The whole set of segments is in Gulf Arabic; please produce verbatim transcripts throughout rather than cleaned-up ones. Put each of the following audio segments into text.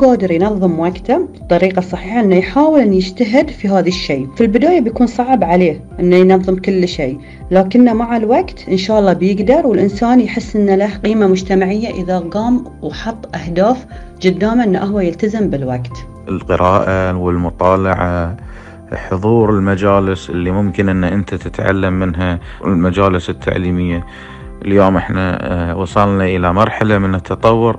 قادر ينظم وقته بطريقة صحيحة، إنه يحاول إنه يجتهد في هذا الشيء. في البداية بيكون صعب عليه إنه ينظم كل شيء، لكنه مع الوقت إن شاء الله بيقدر، والإنسان يحس إنه له قيمة مجتمعية إذا قام وحط أهداف قدامه إنه هو يلتزم بالوقت. القراءة والمطالعة، حضور المجالس اللي ممكن إن أنت تتعلم منها، المجالس التعليمية. اليوم إحنا وصلنا إلى مرحلة من التطور،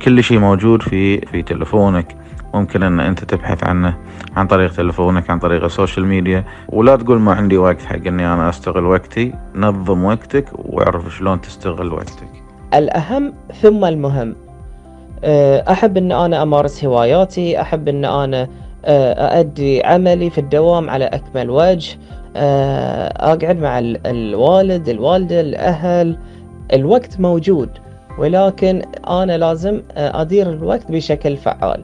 كل شيء موجود في في تلفونك، ممكن ان انت تبحث عنه عن طريق تلفونك، عن طريق السوشيال ميديا. ولا تقول ما عندي وقت حق اني انا استغل وقتي. نظم وقتك واعرف شلون تستغل وقتك. الأهم ثم المهم. أحب أن أنا أمارس هواياتي، أحب أن أنا أؤدي عملي في الدوام على أكمل وجه، أقعد مع الوالد الوالدة الأهل. الوقت موجود، ولكن أنا لازم أدير الوقت بشكل فعال.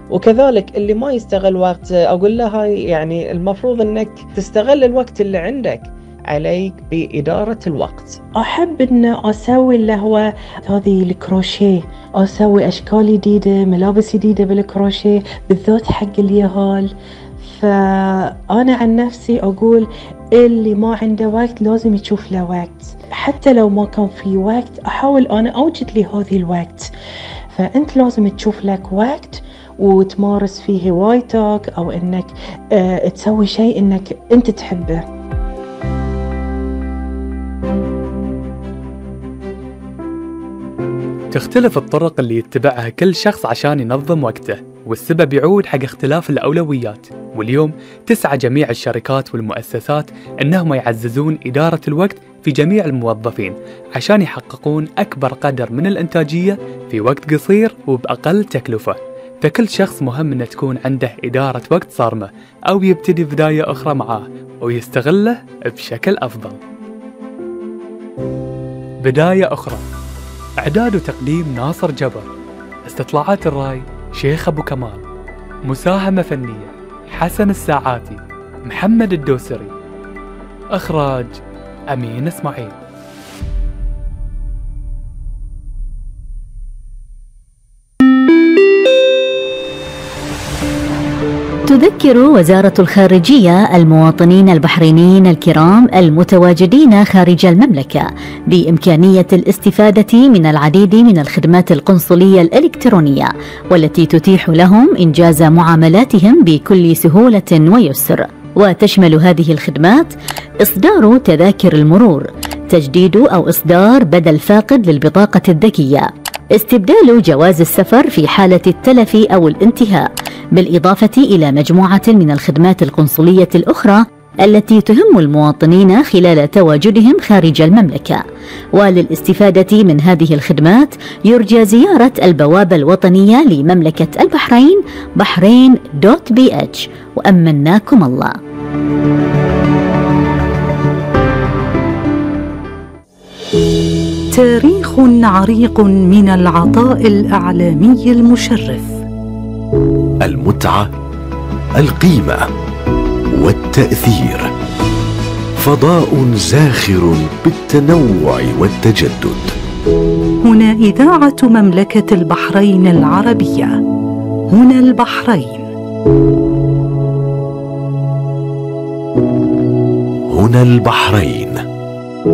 وكذلك اللي ما يستغل وقت أقول له هاي يعني المفروض أنك تستغل الوقت اللي عندك، عليك بإدارة الوقت. أحب أن أسوي اللي هو هذه الكروشيه، أسوي أشكال جديدة، ملابس جديدة بالكروشيه بالذات حق اليهال. فأنا عن نفسي أقول اللي ما عنده وقت لازم يشوف له وقت، حتى لو ما كان في وقت أحاول أنا أوجد لي هذه الوقت. فأنت لازم تشوف لك وقت وتمارس فيه هوايتك، أو أنك أه تسوي شيء أنك أنت تحبه. تختلف الطرق اللي يتبعها كل شخص عشان ينظم وقته، والسبب يعود حق اختلاف الأولويات. واليوم تسعى جميع الشركات والمؤسسات أنهم يعززون إدارة الوقت في جميع الموظفين عشان يحققون أكبر قدر من الإنتاجية في وقت قصير وبأقل تكلفة. فكل شخص مهم أن تكون عنده إدارة وقت صارمة، أو يبتدي بداية أخرى معاه ويستغله بشكل أفضل. بداية أخرى، إعداد وتقديم ناصر جبر، استطلاعات الرأي شيخ أبو كمال، مساهمة فنية حسن الساعاتي، محمد الدوسري، إخراج أمين إسماعيل. تذكر وزارة الخارجية المواطنين البحرينيين الكرام المتواجدين خارج المملكة بإمكانية الاستفادة من العديد من الخدمات القنصلية الإلكترونية، والتي تتيح لهم إنجاز معاملاتهم بكل سهولة ويسر. وتشمل هذه الخدمات إصدار تذاكر المرور، تجديد أو إصدار بدل فاقد للبطاقة الذكية، استبدال جواز السفر في حالة التلف أو الانتهاء، بالإضافة إلى مجموعة من الخدمات القنصلية الأخرى التي تهم المواطنين خلال تواجدهم خارج المملكة. وللاستفادة من هذه الخدمات يرجى زيارة البوابة الوطنية لمملكة البحرين بحرين دوت بي اتش. وأمناكم الله. تاريخ عريق من العطاء الإعلامي المشرف، المتعة، القيمة والتأثير، فضاء زاخر بالتنوع والتجدد. هنا إذاعة مملكة البحرين العربية، هنا البحرين، هنا البحرين.